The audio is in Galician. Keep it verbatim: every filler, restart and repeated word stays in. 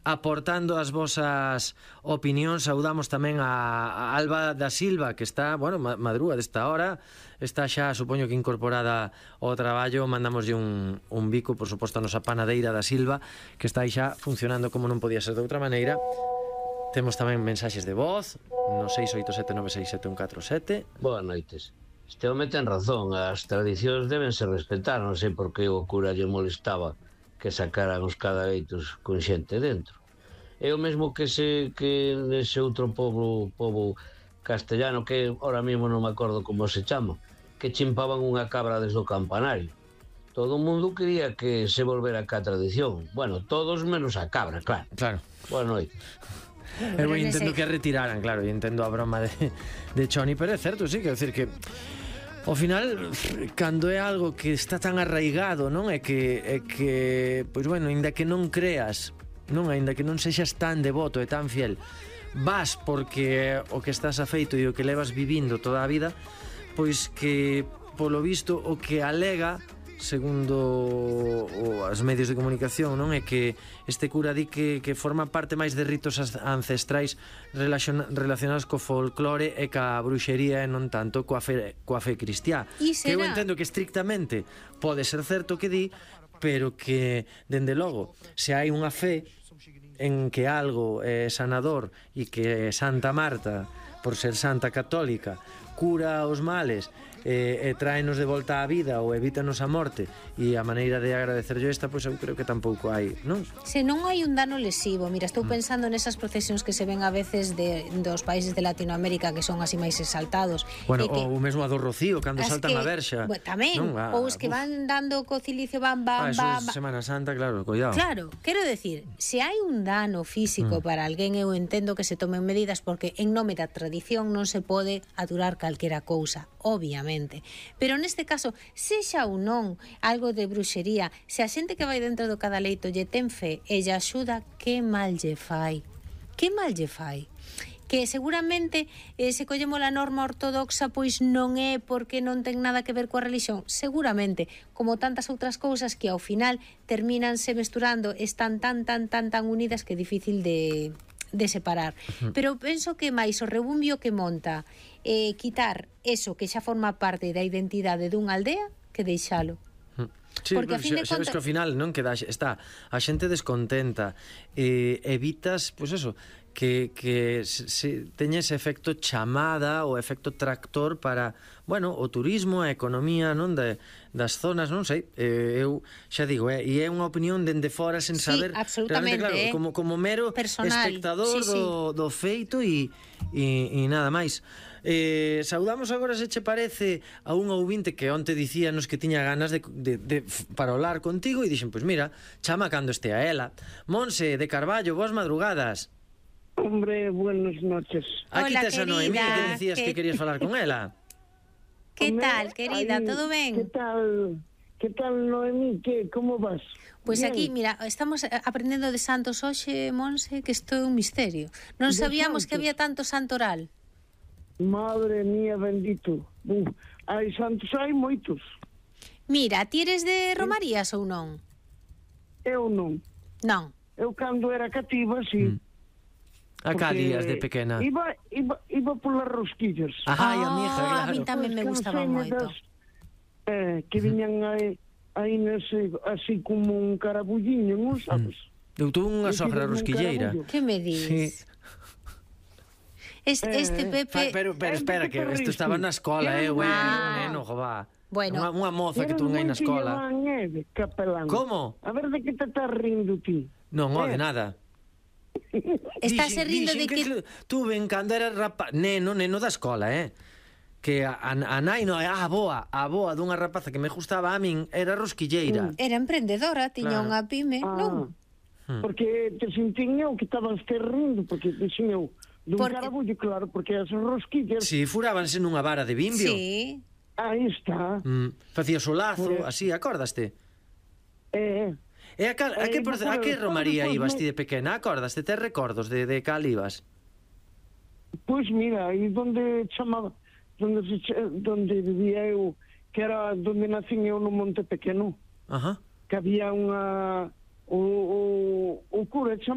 aportando as vosas opinións. Saudamos tamén a Alba da Silva, que está, bueno, madrúa desta hora, está xa, supoño que incorporada ao traballo. Mandamoslle un, un bico, por suposto, a nosa panadeira da Silva, que está aí xa funcionando como non podía ser de outra maneira. Temos tamén mensaxes de voz no seis oito sete nove seis sete un catro sete. Boas noites. Este home ten razón, as tradicións deben ser respetar, non sei por que o cura lle molestaba que sacaran os cadaveitos con xente dentro. É o mesmo que se que nese outro pobo, pobo castellano, que ahora mesmo non me acordo como se chama, que chimpaban unha cabra desde o campanario. Todo o mundo quería que se volvera cá a tradición. Bueno, todos menos a cabra, claro. Claro. Boa noite. Eu entendo que retiraran, claro, e entendo a broma de, de Choni, pero é certo, sí, quero decir que ao final, cando é algo que está tan arraigado, non? É que, é que pois bueno, ainda que non creas, non? Ainda que non sexas tan devoto e tan fiel, vas porque o que estás afeito e o que levas vivindo toda a vida, pois que, polo visto, o que alega, segundo os medios de comunicación, non, é que este cura di que, que forma parte máis de ritos ancestrais relacionados co folclore e ca bruxería e non tanto coa fe, coa fe cristiá. Que eu entendo que estrictamente pode ser certo que di, pero que, dende logo, se hai unha fe en que algo é sanador e que Santa Marta, por ser santa católica, cura os males e, e tráenos de volta á vida ou evítanos a morte, e a maneira de agradecerlle esta, pois eu creo que tampouco hai, non? Se non hai un dano lesivo, mira, estou pensando nesas procesións que se ven a veces de, dos países de Latinoamérica que son así máis exaltados. Bueno, que, o mesmo a do Rocío, cando saltan que, a verxa. Bueno, tamén, non, a, ou os que uf. van dando co cilicio, van, van, ah, eso van, é Semana Santa, claro, cuidado. Claro, quero decir, se hai un dano físico mm. para alguén, eu entendo que se tomen medidas, porque en nome da tradición non se pode aturar calquera cousa, obviamente. Pero neste caso, sexa ou non algo de bruxería, se a xente que vai dentro do cadaleito lle ten fe e lle axuda, que mal lle fai? Que mal lle fai? Que seguramente eh, se collemos a norma ortodoxa, pois non é porque non ten nada que ver coa religión, seguramente, como tantas outras cousas que ao final terminanse mesturando, están tan, tan, tan, tan unidas que é difícil de... de separar. Uh-huh. Pero penso que máis o rebumbio que monta eh, quitar eso que xa forma parte da identidade dunha aldea que deixalo. Uh-huh. Sí, porque a fin de contas, sabes que ao final non queda, está a xente descontenta, eh, evitas, pois pues eso, que, que se, se teña ese efecto chamada ou efecto tractor para, bueno, o turismo, a economía, non, de, das zonas, non sei, eh, eu xa digo, eh, e é unha opinión dende fora sen saber, sí, absolutamente, claro, eh, como, como mero personal, espectador sí, sí. Do, do feito e, e, e nada máis. Eh, saudamos agora, se che parece, a un ouvinte que onte dicíanos que tiña ganas de, de, de para hablar contigo, e dixen, pois pues mira, chama cando estea ela. Monse de Carballo, boas madrugadas. Hombre, buenas noches. Aquí tes a Noemí, que decías que... que querías falar con ela. Que tal, querida? Ay, ¿todo ben? Que tal, que tal, Noemí? Que, como vas? Pois pues aquí, mira, estamos aprendendo de santos hoxe, Monse, que isto é un misterio. Non sabíamos que había tanto santoral. Madre mía, bendito. Uf, hai santos, hai moitos. Mira, ti eres de Romarías ou non? Eu non. Non. Eu cando era cativa, sí. Mm. A calías de pequena. Iba, iba, iba polas rosquillas. Ajá, oh, a mi hija, claro. A mí tamén me gustaba moito. Eh, que viñan aí, aí nese, así como un carabulliño, non sabes? Eu tuve unha sogra rosquilleira. Que me dis? Sí. Este, este Pepe... Pero, pero espera, que isto estaba na escola, eh, güey, ah. neno, jová. Bueno. Unha, unha moza que tuve aí na escola. Neve, capelán. Como? A ver, de que te estás rindo ti? Non, eh. de nada. Estás rindo de que... que tuve en cando era rapaz, neno, neno da escola, eh? Que a, a nai, no, a boa, a boa dunha rapaza que me gustaba a min era rosquilleira. Era emprendedora, tiña claro. unha pyme, ah, non? Porque te sentín eu que estabas te rindo, porque dixen eu, dun porque... carabullo, claro, porque as rosquillas... Si, sí, furábanse nunha vara de bimbio. Sí. Aí está. Mm, facías o lazo, pues... así, acordaste? Eh... E a, cal, a, que, por, a que romaría ibas ti de pequena? Acordaste? Tes recordos de, de cal ibas? Pois pues mira, aí donde chamaba, donde, se, donde vivía eu, que era donde nacín eu no Monte Pequeno. Ajá. Que había unha... O, o, o cura chamaba